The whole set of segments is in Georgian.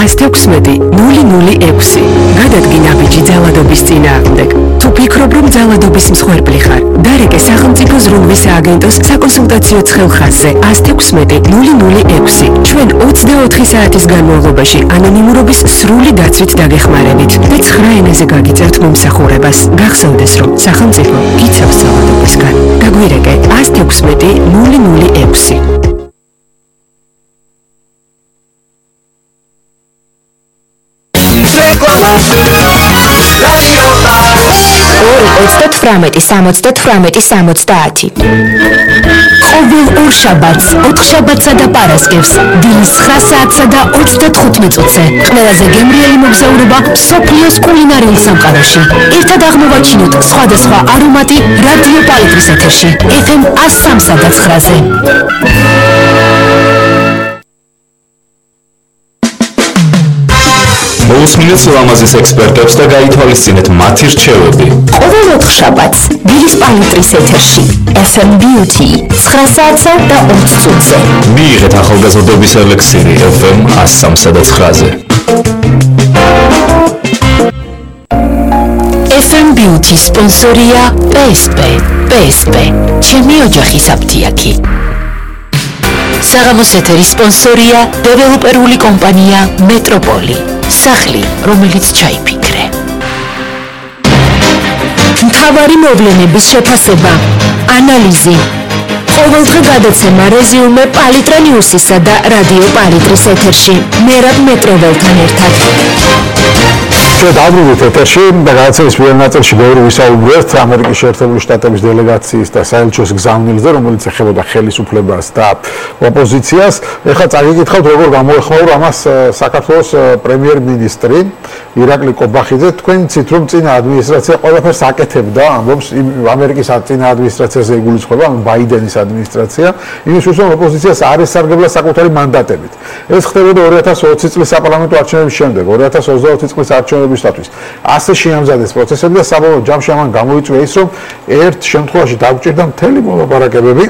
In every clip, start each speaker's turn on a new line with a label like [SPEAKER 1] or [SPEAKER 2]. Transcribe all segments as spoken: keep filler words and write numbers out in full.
[SPEAKER 1] ათი ექვსმეტი ნული ნული ექვსი. გადადგინა ბიჭი ძალადობის წინააღმდეგ. თუ ფიქრობ, რომ ძალადობის მსხვერპლი ხარ, დარეკე სახელმწიფო ზრუნვის სააგენტოს საკონსულტაციო ცხელხაზზე ათი ექვსმეტი ნული ნული ექვსი. ჩვენ ოცდაოთხი საათის განმავლობაში ანონიმურობის სრული დაცვით დაგეხმარებით და ცხრა ენაზე გაგიწერთ მომსახურებას. გახსოვდეს, რომ სახელმწიფო გიცავს ძალადობისგან. გაგვირეკე ათი ექვსმეტი ნული ნული ექვსი.
[SPEAKER 2] ოცდათვრამეტი სამოცდათვრამეტი სამოცდაათი. ყოველ ორ შაბათს, ოთხ შაბათსა და პარასკევს, დილის ცხრა საათსა და ოცდათხუთმეტ წუთზე, ყველაზე გემრიელი მოგზაურობა მსოფლიოს კულინარიულ სამყაროში. ერთად აღმოვაჩინოთ სხვადასხვა არომატი რადიო პალიტრის ეთერში, ეფ ემ ათს სამსა და ცხრაზე.
[SPEAKER 3] მოусმინეთ ლამაზის ექსპერტებს და გაითვალისწინეთ მათი რჩევები.
[SPEAKER 2] ყოველ ოთხ შაბათს, დილის პალიტრის ეთერში, ეფ ემ Beauty, ცხრა საათსა და ოცი წუთზე.
[SPEAKER 3] მიიღეთ ახალგაზრდობის ელექსირი ეფ ემ ათს სამსა და ცხრაზე.
[SPEAKER 2] ეფ ემ Beauty სპონსორია პე ეს პე. პე ეს პე, ჩემი ოჯახის აფთიაქი. საღამოს ეთერის სპონსორია დეველოპერული კომპანია მეტროპოლი. სახლი, რომელიც ჩაიფიქრე. მთავარი მოვლენების შეფასება, ანალიზი. ყოველდღე გადაცემა რეზიუმე პალიტრა ნიუსისა და რადიო პალიტრის ეთერში. მერაბ მეტროველთან ერთად.
[SPEAKER 4] ჩვენ დავბრუნდით ეთერში და გადაცემის პირველ ნაწილში ბევრი ვისაუბრეთ ამერიკის შეერთებული შტატების დელეგაციის და საელჩოს გზავნილზე, რომელიც ეხებოდა ხელისუფლებას და ოპოზიციას. ეხლა წაგიკითხავთ, როგორ გამოეხმაურა ამას საქართველოს პრემიერ-მინისტრი ირაკლი კობახიძე. თქვენ იცით, რომ წინა ადმინისტრაცია ყველაფერს აკეთებდა, ამბობს ამერიკის წინა ადმინისტრაციაზე იგულისხმება, ბაიდენის ადმინისტრაცია, იმისთვის რომ ოპოზიციას არ ესარგებლა საკუთარი მანდატებით. ეს ხდებოდა ორი ათას ოცი წლის საპარლამენტო არჩევნების შემდეგ, ორი ათას ოცდაოთხი წლის არჩევნებისათვის. ასე შეამზადეს პროცესები და საბოლოო ჯამში ამან გამოიწვია ის, რომ ერთ შემთხვევაში დაგვჭირდა მთელი მოლაპარაკებები,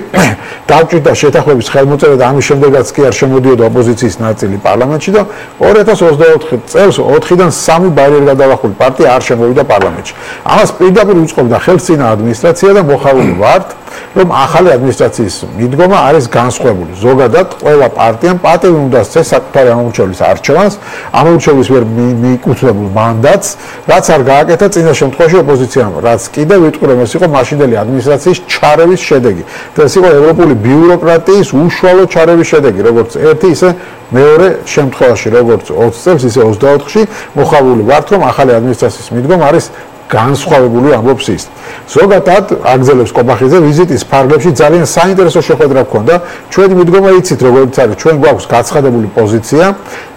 [SPEAKER 4] დაგვჭირდა შეთანხმების ხელმოწერა და ამის შემდეგაც კი არ შემოდიოდა ოპოზიციის ნაწილი პარლამენტში და ორი ათას ოცდაოთხი წელს ოთხიდან სამი ბარიერ გადალახული პარტია არ შემოვიდა პარლამენტში. ამას პირდაპირ უწყობდა ხელს წინა ადმინისტრაცია და მოხარული ვართ, რომ ახალი ადმინისტრაციის მიდგომა არის განსხვავებული. ზოგადად ყველა პარტიამ პატივი უნდა სცეს საკუთარი ამომრჩევლის არჩევანს, ამომრჩევლის მიერ მიეკუთვნებულ მანდატს, რაც არ გააკეთა წინა შემთხვევაში ოპოზიციამ, რაც კიდევ ვიტყვი რომ ეს იყო მაშინდელი ადმინისტრაციის ჩარევის შედეგი. და ეს იყო ევროპული ბიუროკრატიის უშუალო ჩარევის შედეგი, როგორც ერთი ისე მეორე შემთხვევაში, როგორც ოცი წელს, ისე ოცდაოთხში მოხავული ვართ, რომ ახალი ადმინისტრაციის მიდგომა არის განსხვავებული, ამბობს ის. ზოგადად აგზელებს კობახიძე ვიზიტის ფარგლებში ძალიან საინტერესო შეხვედრა ჰქონდა. ჩვენი მიდგომა იცით, როგორც არის, ჩვენ გვაქვს გაცხადებული პოზიცია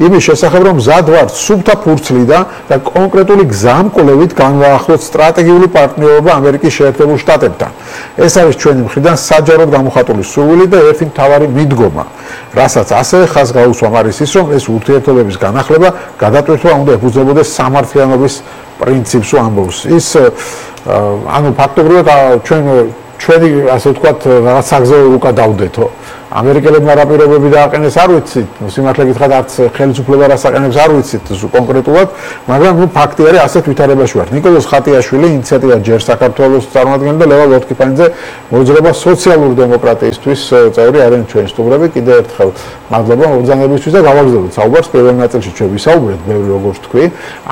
[SPEAKER 4] იმის შესახებ, რომ მზად ვართ სუფთა ფურცლიდან და კონკრეტული გზამკვლევით განვაახლოთ სტრატეგიული პარტნიორობა ამერიკის შეერთებულ შტატებთან. ეს არის ჩვენი მხრიდან საჯაროდ გამოხატული სურვილი და ერთი მთავარი მიდგომა, რასაც ასევე ხაზს გაუსვამ არის ის, რომ ეს ურთიერთობების განახლება გადატვირთვა უნდა ეფუძნებოდეს სამართლიანობის პრინციპს ამბობს. ის ანუ ფაქტობრივად ჩვენ ჩვენი ასე ვთქვათ რაღაც საგზაო რუკა დავდეთო. ამერიკელებმა რა პირობები დააყენეს არ ვიცით, სიმართლე გითხრათ არც ხელისუფლება რას აყენებს არ ვიცით კონკრეტულად, მაგრამ ნუ ფაქტი არის ასეთ ვითარებაში ვართ. ნიკოლოზ ხატიაშვილი ინიციატივა ჯერ საქართველოს წარმოადგენდა და ლევა ლოტკიფანიძე მოძრაობა სოციალური დემოკრატიისთვის წევრი არიან ჩვენი სტუმრები. კიდევ ერთხელ მადლობა მოგზაურობისთვის და გავაგზავნოთ საუბარს პირველ ნაწილში ჩვენ ვისაუბრეთ ბევრი როგორც თქვი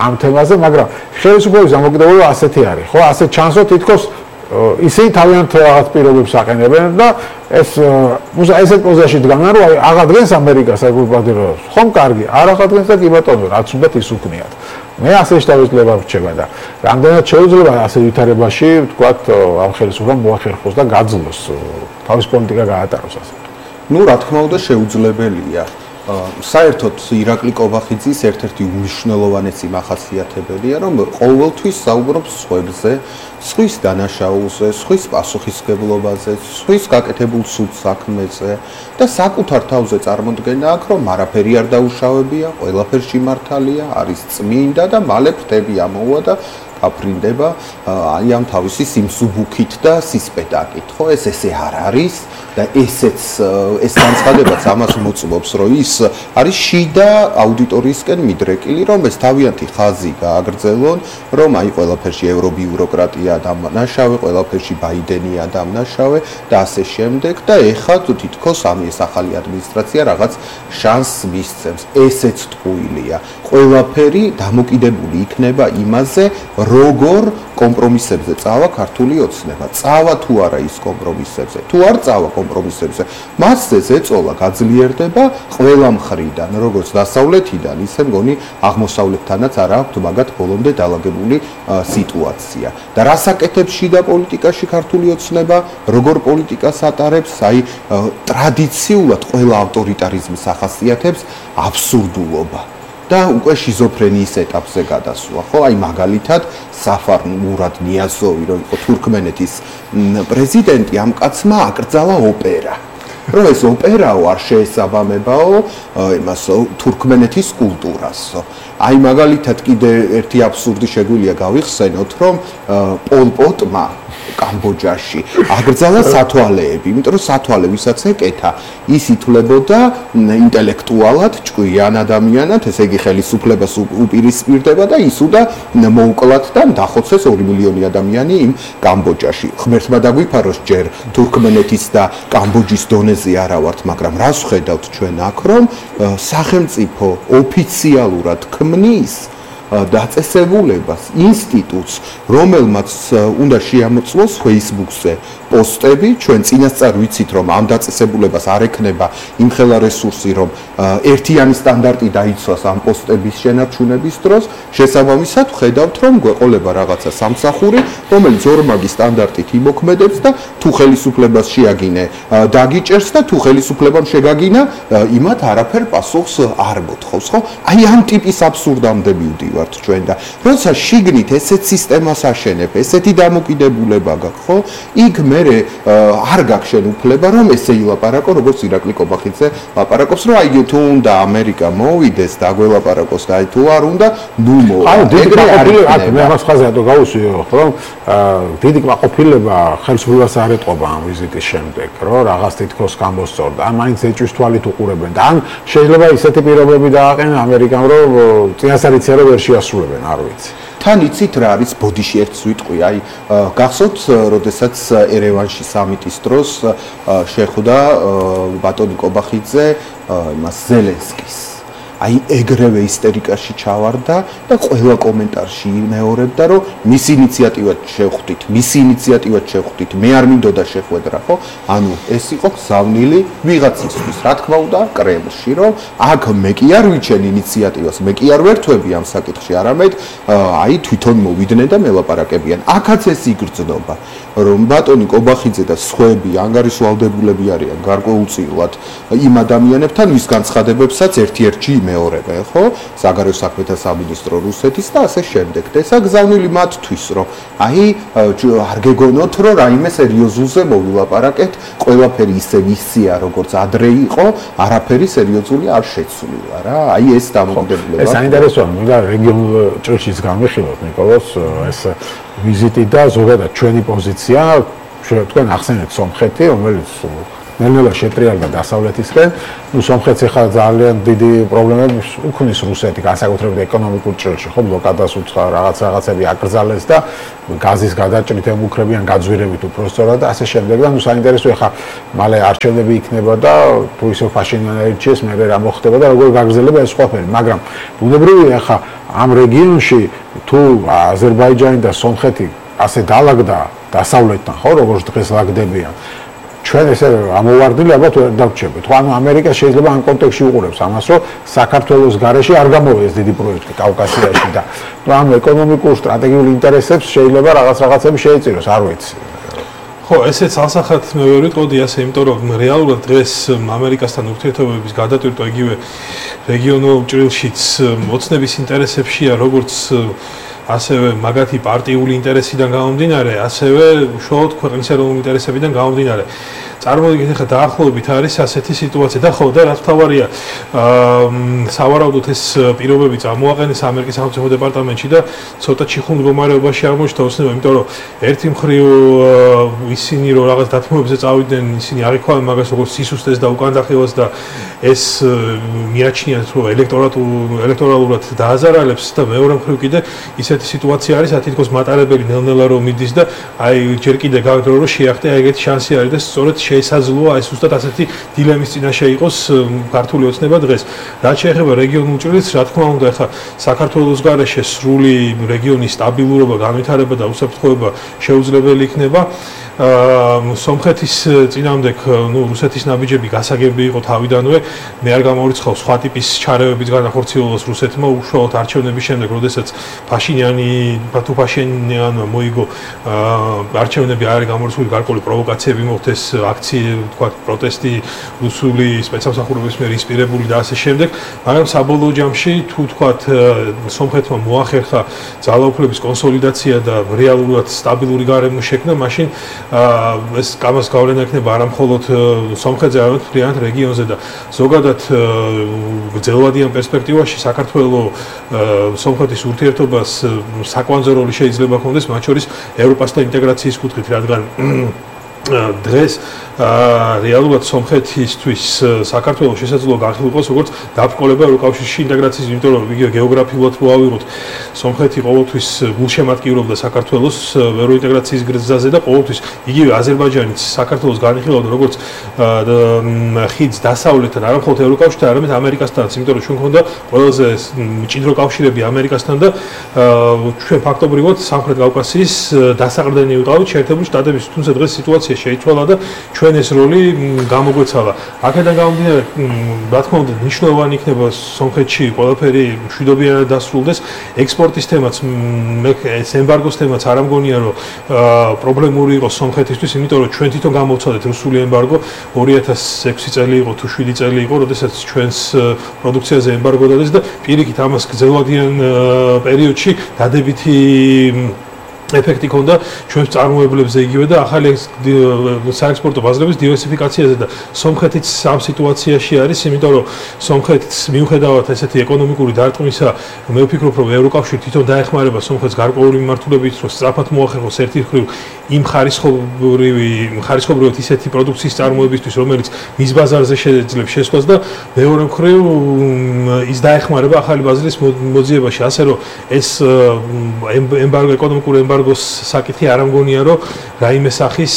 [SPEAKER 4] ამ თემაზე, მაგრამ ხელისუფლების დამოკიდებულება ასეთი არის, ხო? ასე ჩანსო თითქოს ისინი თავიანთ რაღაც პირობებს აყენებენ და ეს ესეთ პოზიციაში დგანან, რომ აი აღადგენს ამერიკას ეკულპატირებს. ხომ კარგი, არ აღადგენს და კი ბატონო, რაც უნდა ის უკნიათ. მე ასე შევიძლია ვრჩება და რამდენად შეუძლება ასე ვითარებაში, ვთქვათ, ამ ხელისუფლებამ მოახერხოს და გაძლოს თავის პოლიტიკა გაატაროს ასე.
[SPEAKER 5] ნუ რა თქმა უნდა შეუძლებელია. საერთოდ ირაკლი კობახიძის ერთ-ერთი უმნიშვნელოვანესი მახასიათებელია, რომ ყოველთვის საუბრობს სხვებზე, სხვის დანაშაულზე, სხვის პასუხისმგებლობაზე, სხვის გაკეთებულ სულ საქმეზე და საკუთარ თავზე წარმოდგენა აქვს, რომ არაფერი არ დაუშავებია, ყველაფერში მართალია, არის წმინდა და მალე ფრთები ამოვა და გაფრინდება აი ამ თავისი სიმსუბუქით და სისპეტაკით, ხო? ეს ესე არ არის და ესეც ეს განცხადებაც ამას მოწმობს, რომ ის არის შიდა აუდიტორიისკენ მიდრეკილი, რომ ეს თავიანთი ხაზი გააგრძელონ, რომ აი ყველაფერში ევრობიუროკრატია დამნაშავე, ყველაფერში ბაიდენია დამნაშავე და ასე შემდეგ და ეხლა თითქოს ამ ეს ახალი ადმინისტრაცია რაღაც შანსს მისცემს. ესეც ტყუილია. ყველაფერი დამოკიდებული იქნება იმაზე, როგორ კომპრომისებზე წავა ქართული ოცნება. წავა თუ არა ის კომპრომისებზე, თუ არ წავა კომპრომისებზე, მასზე ზეწოლა გაძლიერდება ყველა მხრიდან, როგორც დასავლეთიდან, ისე მგონი აღმოსავლეთთანაც არ აქვს მაგათ ბოლომდე დაალაგებული სიტუაცია. და რას აკეთებს შიდა პოლიტიკაში ქართული ოცნება, როგორ პოლიტიკას ატარებს, აი ტრადიციულად ყველა ავტორიტარიზმის ახასიათებს აბსურდულობა. და უკვე შიზოფრენიის ეტაპზე გადასვლა, ხო? აი მაგალითად საფარ მურად ნიაზოვი, რომ იყო თურქმენეთის პრეზიდენტი, ამ კაცმა აკრძალა ოპერა. რომ ეს ოპერაო არ შეესაბამებაო იმას თურქმენეთის კულტურასო. აი მაგალითად კიდე ერთი აბსურდი შეგვიძლია გავიხსენოთ, რომ პოლ პოტმა კამბოჯაში აკრძალა სათვალეები, იმიტომ რომ სათვალე ვისაც ეკეთა, ის ითვლებოდა ინტელექტუალად ჭკვიან ადამიანად, ესე იგი ხელისუფლებას უპირისპირდება და ისუდა მოუკლათ და დახოცეს ორი მილიონი ადამიანი იმ კამბოჯაში. ღმერთმა დაგვიფაროს ჯერ თურქმენეთის და კამბოჯის დონეზე არა ვართ, მაგრამ რას ვხედავთ ჩვენ აქ, რომ სახელმწიფო ოფიციალურად ქმნის დაწესებულებას, ინსტიტუტს, რომელმაც უნდა შეამოწმოს Facebook-ზე პოსტები, ჩვენ წინასწარ ვიცით, რომ ამ დაწესებულებას არ ექნება იმხელა რესურსი, რომ ერთიანი სტანდარტი დაიცვას ამ პოსტების შენარჩუნების დროს, შესაბამისად ვხედავთ, რომ გვეყოლება რაღაცა სამსახური, რომელიც ორმაგი სტანდარტით იმოქმედებს და თუ ხელისუფლებას შეაგინე, დაგიჭერს და თუ ხელისუფლებამ შეგაგინა, იმათ არაფერ პასუხს არ მოთხოვს, ხო? აი ამ ტიპის აბსურდამდე მივდივართ ჩვენ და როცა შიგნით ესეთ სისტემას აშენებ, ესეთი დამოკიდებულება გაქვს, ხო? იქ მე არ გაქვს შენ უფლება, რომ ესე ილაპარაკო, როგორც ირაკლი კობახიძე ლაპარაკობს, რომ აი თუ უნდა ამერიკა მოვიდეს და გველაპარაკოს და აი თუ არ უნდა, ნუ მოვა.
[SPEAKER 4] აი დიდი კმაყოფილება, მე ამას ხაზი რატო გავუსვიო, რომ დიდი კმაყოფილება ხელისუფლებას არ ეტყობა ამ ვიზიტის შემდეგ, რომ რაღაც თითქოს გამოსწორდა. ან მაინც ეჭვის თვალით უყურებენ და ან შეიძლება ისეთი პირობები დააყენა ამერიკამ, რომ წინასწარ იციან, რომ ვერ შეასრულებენ, არ ვიცი.
[SPEAKER 5] თან იცით რა არის ბოდიში ერთ სვიტყვი, აი გახსოვთ, როდესაც ერევანში სამიტის დროს შეხვდა ბატონი კობახიძე იმას ზელენსკის. აი ეგრევე ისტერიკაში ჩავარდა და ყველა კომენტარში იმეორებდა, რომ მის ინიციატივად შევხვდით, მის ინიციატივად შევხვდით, მე არ მინდოდა შეხვედრა, ხო? ანუ ეს იყო გზავნილი ვიღაცისთვის, რა თქმა უნდა, კრემლში, რომ აქ მე კი არ ვიჩენ ინიციატივას, მე კი არ ვერთვები ამ საკითხში, არამედ აი თვითონ მოვიდნენ და მელაპარაკებიან. აქაც ეს იგრძნობა, რომ ბატონი კობახიძე და სხვები ანგარიშვალდებულები არიან გარკვეულწილად იმ ადამიანებთან, ვის განცხადებებსაც ერთ-ერთი მეორებენ, ხო? საგარეო საქმეთა სამინისტრო რუსეთის და ასე შემდეგ. და ეს აგზავნილი მათთვის, რომ აი არ გეგონოთ, რომ რაიმე სერიოზულზე მოვილაპარაკეთ, ყველაფერი ისე ვისია, როგორც ადრე იყო, არაფერი სერიოზული არ შეცვლილა რა. აი ეს დამოკიდებულება.
[SPEAKER 4] ეს საინტერესოა, მინდა რეგიონულ ჭრილშიც გამიხილოთ, ნიკოლოს, ეს ვიზიტი და ზოგადად ჩვენი პოზიცია, თქვენ ახსენეთ სომხეთი, რომელიც ნელ-ნელა შეტრიალდა დასავლეთისკენ, ნუ სომხეთს ახლა ძალიან დიდი პრობლემები უქმნის რუსეთი, განსაკუთრებით ეკონომიკურ ჭრილში, ხო, ბლოკადას უცხო რაღაც რაღაცები აკრძალეს და გაზის გადაჭრით ემუქრებიან გაძვირებით უпростоრად და ასე შემდეგ და ნუ საინტერესოა ახლა მალე არჩევნები იქნება და თუ ისე ფაშინიანი აირჩიეს, მე რა მოხდება და როგორ გაგრძელება ეს ყველაფერი, მაგრამ ბუნებრივია ახლა ამ რეგიონში თუ აზერბაიჯანი და სომხეთი ასე დაალაგდა დასავლეთთან, ხო, როგორც დღეს ლაგდებიან ჩვენ ესე ამოვარდილი ალბათ ვერ დავჩებით. ხო, ანუ ამერიკა შეიძლება ამ კონტექსტში უყურებს ამას, რომ საქართველოს გარეშე არ გამოვიდეს დიდი პროექტი კავკასიაში და ნუ ამ ეკონომიკურ სტრატეგიულ ინტერესებს შეიძლება რაღაც რაღაცები შეეწიროს, არ ვიცი.
[SPEAKER 6] ხო, ესეც ასახათ მე ვერ ვიტყოდი ასე, იმიტომ რომ რეალურად დღეს ამერიკასთან ურთიერთობების გადატვირთვა იგივე რეგიონულ ჭრილშიც მოცნების ინტერესებშია, როგორც ასევე მაგათი პარტიული ინტერესიდან გამომდინარე, ასევე უშუალოდ ქვეყნის ეროვნული ინტერესებიდან გამომდინარე. წარმოვიდგინეთ, ახლა დაახლოებით არის ასეთი სიტუაცია და ხო და რაც თავარია, სავარაუდოდ ეს პირობები წამოაყენეს ამერიკის სახელმწიფო დეპარტამენტში და ცოტა ჩიხურ მდგომარეობაში აღმოჩნდა ოცნება, იმიტომ რომ ერთი მხრივ ისინი რომ რაღაც დათმობებზე წავიდნენ, ისინი არ იხვალენ მაგას როგორც სისუსტეს და უკანდახევას და ეს მიაჩნიათ რომ ელექტორალურად დააზარალებს და მეორე მხრივ კიდე ისეთი სიტუაცია არის, თითქოს მატარებელი ნელ-ნელა რომ მიდის და აი ჯერ კიდე გაგდრო რომ შეახტე აი ეგეთი შანსი არის და სწორედ შესაძლოა აი ზუსტად ასეთი დილემის წინაშე იყოს ქართული ოცნება დღეს. რაც შეეხება რეგიონულ ჭრილს, რა თქმა უნდა, ახლა საქართველოს გარეშე სრული რეგიონის სტაბილურობა, განვითარება და უსაფრთხოება შეუძლებელი იქნება. სომხეთის წინამდებ, ნუ რუსეთის ნაბიჯები გასაგები იყო თავიდანვე, მე არ გამორიცხავ სხვა ტიპის ჩარევების განახორციელებას რუსეთმა უშუალოდ არჩევნების შემდეგ, როდესაც ფაშინიანი, თუ ფაშინიანმა მოიგო არჩევნები არ არის გამორიცხული, გარკვეული პროვოკაციები მოხდეს, აქციები, თქვა პროტესტი რუსული სპეცსამსახურების მიერ ინსპირებული და ასე შემდეგ, მაგრამ საბოლოო ჯამში თუ თქვა სომხეთმა მოახერხა ძალაუფლების კონსოლიდაცია და რეალურად სტაბილური გარემო შექმნა, მაშინ ეს კამას გავლენა ექნება არა მხოლოდ სომხეთზე, არამედ მთლიანად რეგიონზე და ზოგადად გრძელვადიან პერსპექტივაში საქართველოს სომხეთის ურთიერთობას საკვანძო როლი შეიძლება ჰქონდეს, მათ შორის ევროპასთან ინტეგრაციის კუთხით, რადგან დღეს რეალურად სომხეთისთვის საქართველოს შესაძლოა განხილვას როგორც დაბრკოლება ევროკავშირში ინტეგრაციის, იმიტომ რომ იგი გეოგრაფიულად რო ავიღოთ, სომხეთი ყოველთვის გულშემატკივრობდა საქართველოს ევროინტეგრაციის გზაზე და ყოველთვის იგივე აზერბაიჯანიც საქართველოს განიხილავდა როგორც ხიდს დასავლეთთან, არა მხოლოდ ევროკავშირთან, არამედ ამერიკასთანაც, იმიტომ რომ ჩვენ გვქონდა ყველაზე მჭიდრო კავშირები ამერიკასთან და ჩვენ ფაქტობრივად სამხრეთ კავკასიის დასაყრდენი ვიყავით შეერთებული შტატების, თუმცა დღეს სიტუაცია შეიცვალა და ჩვენ ეს როლი გამოგვეცალა. აქედან გამომდინარე, რა თქმა უნდა, მნიშვნელოვანი იქნება სომხეთში ყველაფერი მშვიდობიანად დასრულდეს. ექსპორტის თემაც, ეს ემბარგოს თემაც არ ამგონია, რომ პრობლემური იყოს სომხეთისთვის, იმიტომ რომ ჩვენ თვითონ გამოვცადეთ რუსული ემბარგო, ორი ათას ექვსი წელი იყო თუ შვიდი წელი იყო, როდესაც ჩვენს პროდუქციაზე ემბარგო დადეს და პირიქით ამას გრძელვადიან პერიოდში დადებითი ეფექტი ქონდა ჩვენს წარმოებლებზე იგივე და ახალი საექსპორტო ბაზრების დივერსიფიკაციაზე და სომხეთიც ამ სიტუაციაში არის, იმიტომ რომ სომხეთს მიუხედავად ესეთი ეკონომიკური დარტყმისა, მე ვფიქრობ, რომ ევროკავშირი თვითონ დაეხმარება სომხეთს გარკვეული მიმართულებით, რომ სწრაფად მოახერხოს ერთი მხრივ იმ ხარისხობრივი ხარისხობრივად ისეთი პროდუქციის წარმოებისთვის, რომელიც მის ბაზარზე შეძლებს შესვლას და მეორე მხრივ ის დაეხმარება ახალი ბაზრის მოძიებაში, ასე რომ ეს ემბარგო ეკონომიკური ემბარგოს საკითხი არ ამგონია, რომ რაიმე სახის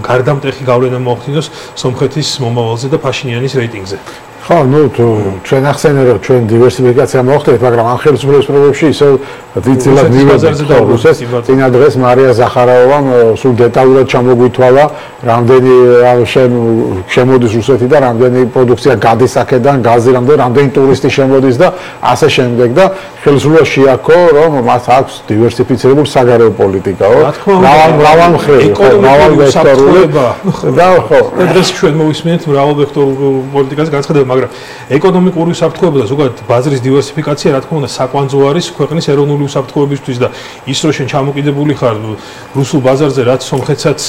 [SPEAKER 6] გარდამტეხი გავლენა მოახდინოს სომხეთის მომავალზე და ფაშინიანის რეიტინგზე.
[SPEAKER 4] ხო, ну, ჩვენ ახსენე რომ ჩვენ დივერსიფიკაცია მოხდეთ, მაგრამ ამ ხელისუფლების პრობლემებში ისევ დიდწილად მივაზარდა რუსეთს. წინა დღეს მარია ზახაროვამ სულ დეტალურად ჩამოგვითვალა, რამდენი შემოდის რუსეთი და რამდენი პროდუქცია გადის აქედან, გაზი რამდენი, რამდენი ტურისტი შემოდის და ასე შემდეგ და ხელისუფლება შეაქო, რომ მას აქვს დივერსიფიცირებული საგარეო პოლიტიკაო. მრავალ მრავალ მხრივ, მრავალ ვექტორული და ხო,
[SPEAKER 6] დღეს ჩვენ მოვისმენთ მრავალ ვექტორულ პოლიტიკას განცხადება, მაგრამ ეკონომიკური უსაფრთხოება და ზოგადად ბაზრის დივერსიფიკაცია, რა თქმა უნდა, საკვანძო არის ქვეყნის ეროვნული უსაფრთხოებისთვის და ის რო შენ ჩამოკიდებული ხარ რუსულ ბაზარზე, რაც სომხეთსაც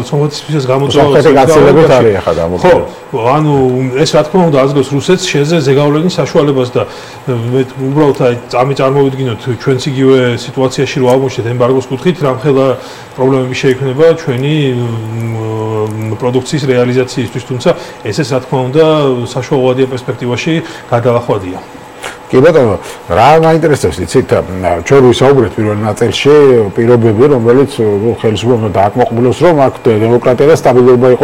[SPEAKER 6] სომხეთისთვისაც გამოწვევა
[SPEAKER 4] გაცილებით არის ახლა
[SPEAKER 6] ხო,
[SPEAKER 4] გამოგწევი.
[SPEAKER 6] ანუ ეს რა თქმა უნდა ազգოს რუსეთს შეზე ზეგავლენის საშუალებას და მე უბრალოდ აი წამი წარმოვიდგინოთ ჩვენც იგივე სიტუაციაში რო აღმოჩნდეთ ემბარგოს კუთხით, რამხელა პრობლემები შეიქმნება ჩვენი პროდუქციის რეალიზაციისთვის, თუმცა ესეც რა თქმა უნდა საშუალებრივ პერსპექტივაში გადალახვადია.
[SPEAKER 4] კი ბატონო, რა მაინტერესებს იცით, ჩვენ ვისაუბრეთ პირველ ნაწილში პირობები, რომელიც ხელისუფლებამ დააკმაყოფილოს, რომ აქ დემოკრატია და სტაბილურობა